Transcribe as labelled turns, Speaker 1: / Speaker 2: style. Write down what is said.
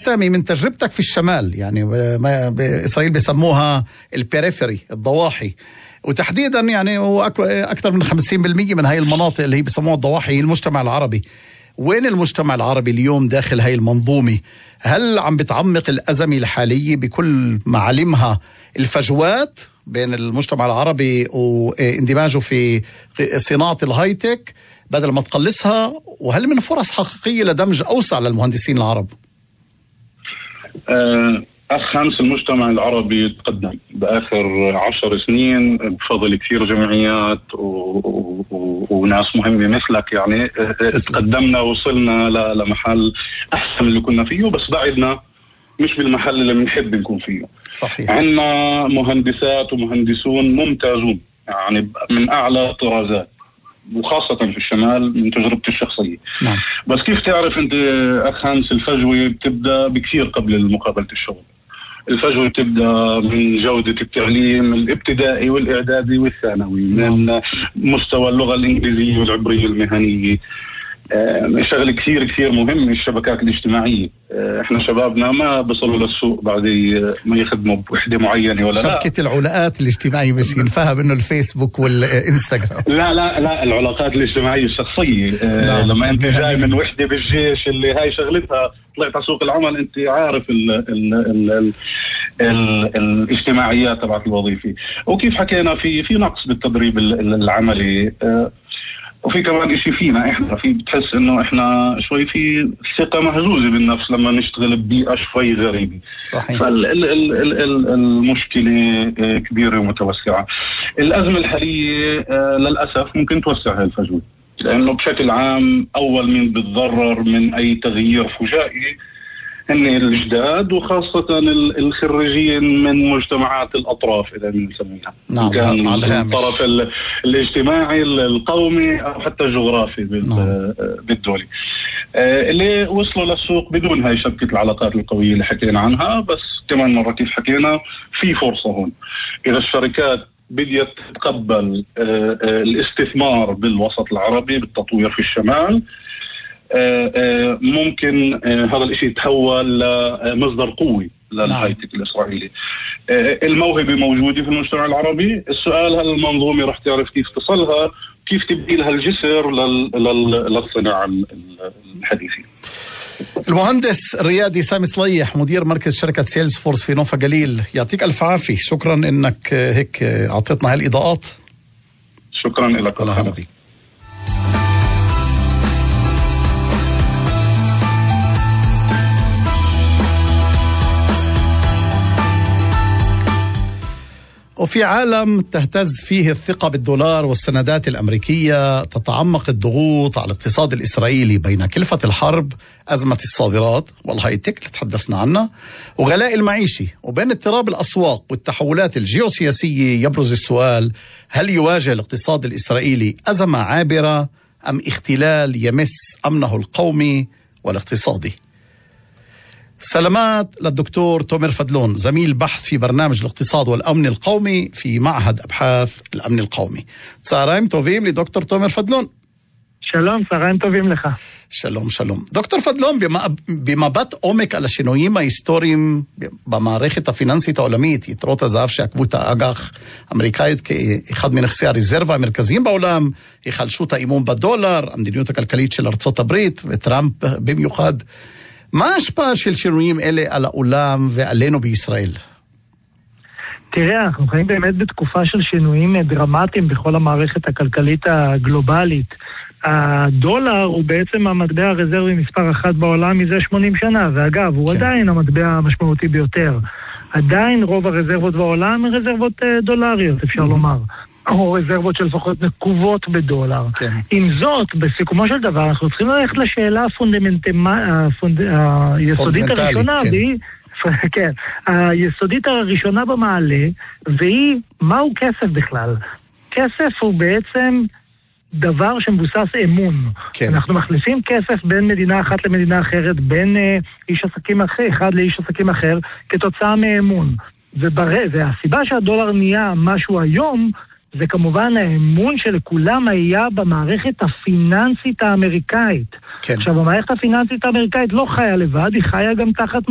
Speaker 1: سامي من تجربتك في الشمال، يعني بإسرائيل بيسموها البيريفري، الضواحي، وتحديدا يعني هو أكثر من 50% من هاي المناطق اللي هي بيسموها الضواحي هي المجتمع العربي. وين المجتمع العربي اليوم داخل هاي المنظومة؟ هل عم بتعمق الأزمة الحالية بكل معالمها الفجوات بين المجتمع العربي واندماجه في صناعة الهايتك بدل ما تقلصها؟ وهل من فرص حقيقية لدمج أوسع للمهندسين العرب؟
Speaker 2: أخ خامس، المجتمع العربي تقدم بآخر 10 سنين بفضل كثير جمعيات وناس مهمة مثلك. يعني تقدمنا وصلنا لمحل أحسن من اللي كنا فيه، بس بعدنا مش بالمحل اللي بنحب نكون فيه.
Speaker 1: صحيح.
Speaker 2: عندنا مهندسات ومهندسون ممتازون، يعني من أعلى الطرازات، وخاصة في الشمال من تجربتي الشخصية.
Speaker 1: نعم.
Speaker 2: بس كيف تعرف أنت أخ خامس، الفجوة بتبدأ بكثير قبل مقابلة الشغل. الفجوة بتبدأ من جودة التعليم الابتدائي والإعدادي والثانوي، من مستوى اللغة الإنجليزية والعبرية المهنية. شغل كثير مهم الشبكات الاجتماعية. احنا شبابنا ما بصلوا للسوق بعد ما يخدموا بوحدة معينة ولا لا.
Speaker 1: شبكة العلاقات الاجتماعية مش ينفهم انه الفيسبوك والانستغرام.
Speaker 2: لا العلاقات االاجتماعية الشخصية. لما انت جاي من وحدة بالجيش اللي هاي شغلتها، طلعت على سوق العمل انت عارف الاجتماعيات تبعت الوظيفة. وكيف حكينا في نقص بالتدريب العملي، وفي كمان اشي فينا احنا بتحس انه احنا شوي في ثقة مهزوزة بالنفس لما نشتغل ببيئة شوي غريبة.
Speaker 1: صحيح.
Speaker 2: فالمشكلة كبيرة ومتوسعة. الأزمة الحالية للأسف ممكن توسع هاي الفجوة، لأنه بشكل عام أول من بتضرر من أي تغيير فجائي هن الجداد، وخاصة الخريجين من مجتمعات الأطراف إذا بنسميها.
Speaker 1: نعم.
Speaker 2: كان الطرف الاجتماعي القومي أو حتى الجغرافي بالدولي، اللي وصلوا للسوق بدون هاي شبكة العلاقات القوية اللي حكينا عنها. بس كمان مرة كيف حكينا، في فرصة هون إذا الشركات بدأت تتقبل الاستثمار بالوسط العربي بالتطوير في الشمال، ممكن هذا الاشي يتحول لمصدر قوي للهايتك الإسرائيلي. الموهبة موجودة في المجتمع العربي. السؤال هل المنظومة رح تعرف كيف تصلها، كيف تبني لها الجسر للصناعة الحديثة.
Speaker 1: المهندس الريادي سامي صليح، مدير مركز شركة سيلز فورس في نوفا جليل، يعطيك ألف عافية. شكرا إنك هيك أعطيتنا هالإضاءات.
Speaker 2: شكرا لك.
Speaker 1: الله هلا بيك. وفي عالم تهتز فيه الثقة بالدولار والسندات الأمريكية، تتعمق الضغوط على الاقتصاد الإسرائيلي بين كلفة الحرب، أزمة الصادرات والهايتك اللي تحدثنا عنها، وغلاء المعيشي، وبين اضطراب الأسواق والتحولات الجيوسياسية. يبرز السؤال: هل يواجه الاقتصاد الإسرائيلي أزمة عابرة أم اختلال يمس أمنه القومي والاقتصادي؟ سلامات للدكتور تومر فدلون، زميل بحث في برنامج الاقتصاد والأمن القومي في معهد أبحاث الأمن القومي. צהריים טובים לדוקטור תומר פדלון.
Speaker 3: שלום, צהריים טובים לך.
Speaker 1: שלום. דוקטור פדלון, במבט עומק על השינויים ההיסטוריים במערכת הפיננסית העולמית, יתרות הזהב שעקבו את האג"ח האמריקאית כאחד מנכסי הרזרבה המרכזיים בעולם, היחלשות האמון בדולר, המדיניות הכלכלית של ארצות הברית וטראמפ במיוחד, מה ההשפעה של שינויים אלה על העולם ועלינו בישראל?
Speaker 3: תראה, אנחנו חיים באמת בתקופה של שינויים דרמטיים בכל המערכת הכלכלית הגלובלית. הדולר הוא בעצם המטבע הרזרבי מספר 1 בעולם מזה 80 שנה, ואגב, הוא עדיין המטבע המשמעותי ביותר. עדיין רוב הרזרבות בעולם הן רזרבות דולריות, אפשר לומר. או רזרבות שלפחות נקובות בדולר. עם זאת, בסיכומו של דבר, אנחנו צריכים ללכת לשאלה היסודית הראשונה, כן, היסודית הראשונה במעלה, והיא, מהו כסף בכלל? כסף הוא בעצם דבר שמבוסס אמון. כן. אנחנו מחליפים כסף בין מדינה אחת למדינה אחרת, בין איש עסקים אחד לאיש עסקים אחר, כתוצאה מאמון. והסיבה שהדולר נהיה משהו היום, זה כמובן האמון שלכולם היה במערכת הפיננסית האמריקאית. כן. עכשיו, המערכת הפיננסית האמריקאית לא חיה לבד, היא חיה גם תחת